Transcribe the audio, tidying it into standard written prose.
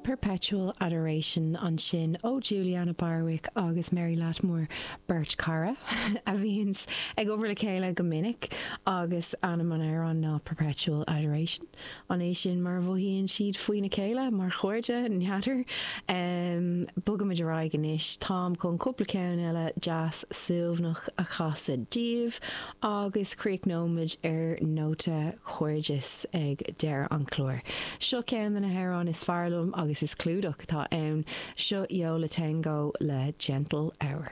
Perpetual Adoration ansin ó Julianna Barwick agus Mary Lattimore, beirt chara a bhíonns ag obair le chéile go minic agus ainm an amhráin ná Perpetual Adoration. An é sin mar a mhothaíonn siad faoina chéile mar chairde? N'fheadar. Bogaimid ar aghaidh anois. Táim chun cúpla ceann eile deas suaimhneach a chasadh daoibh agus críochnóimid ar nóta cairdis ag deireadh an chláir. Seo ceann de na hamhráin is fearr liom agus is clúdach atá ann. Seo Yo La Tengo le Gentle Hour.